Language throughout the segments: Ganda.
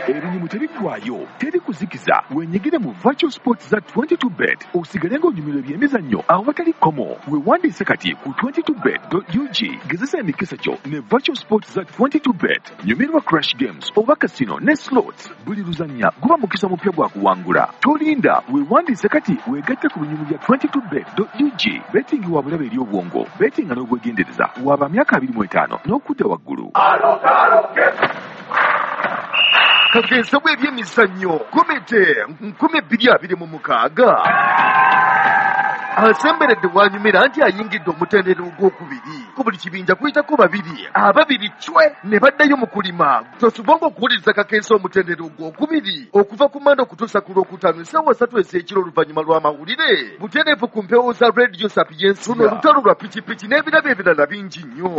Ebinyumu tebiggwayo, teri kuzikiza. Wenyigire mu virtual sports za 22 Bet, osigale ng'onyumirwa ebyemizannyo awatali kkomo. Weewandiise kati ku 22bet.ug. Gezesa emikisa gyo ne virtual sports za 22 Bet. Nyumirwa crash games oba casino ne slots. Buli luzannya guba mukisa mupya gwa kuwangula. Tolinda, weewandiise kati weegatte ku binyumu bya 22bet.ug. Betting wa bulabe eri obwongo. Bettinga n'obwegendereza. Waba myaka 25 n'okudda waggulu. Kakensa bw'ebyemizannyo komite 2026 asemberedde wanyumira nti ayingidde omutendera ogwokubiri. Ku buli kibinja kuyitako babiri, ababiri cwe ne baddayo mu kulima. Tosubwanga okuwuliriza Kakensa omutendera ogwokubiri okuva ku Mande okutuusa ku Lwokutaano essaawa 3 ez'ekiro oluvannyuma lw'amawulire butereevu ku mpewo za Radio Sapientia. Luno olutalo lwa pikipiki n'ebirabo ebirala bingi nnyo.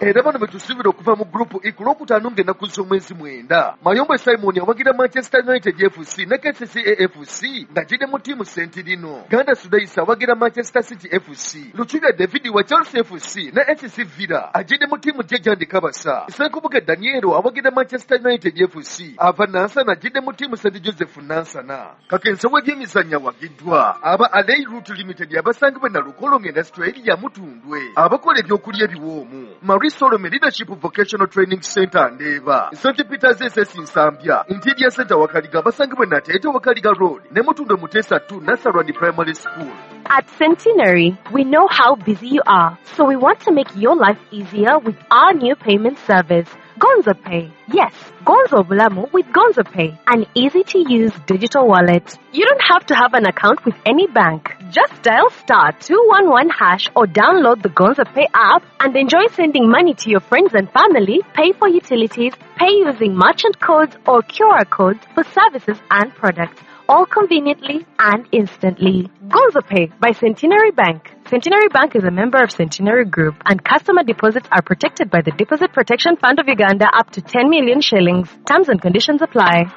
Era bano betusuubira okuva mu Group E ku Lwokutaano ng'ennaku z'omwezi 9. Mayombwe Simon awagira Manchester United FC ne KCCA FC ng'agidde mu ttiimu Sentirino. Ganda Sudaisa awagira Manchester City FC. Luchubya David wa Chelsea FC ne SC Villa agidde mu ttiimu Jejandi Kabasa. Ssenkubuge Danielo awagira Manchester United FC. Ava Nansana agidde mu ttiimu St Joseph Nansana. Kakensa w'ebyemizannyo awagiddwa aba Alei Route Limited abasangibwa e Nalukolongo Industrial Area Mutundwe, abakola ebyokulya ebiwoomu. Marie Solomon Leadership Vocational Training Center Ndeeba, St Peters SS Nsambya, Interior Center Wakaliga abasangibwa e Nateete Wakaliga Road ne Mutundwe Muteesa 2 Nasarwani Primary School. At Centenary, we know how busy you are, so we want to make your life easier with our new payment service, Gonzo Pay. Yes, Gonzo Bulamu with Gonzo Pay, an easy-to-use digital wallet. You don't have to have an account with any bank. Just dial *211# or download the Gonzo Pay app and enjoy sending money to your friends and family, pay for utilities, pay using merchant codes or QR codes for services and products, all conveniently and instantly. Gonzo Pay by Centenary Bank. Centenary Bank is a member of Centenary Group, and customer deposits are protected by the Deposit Protection Fund of Uganda up to 10 million shillings. Terms and conditions apply.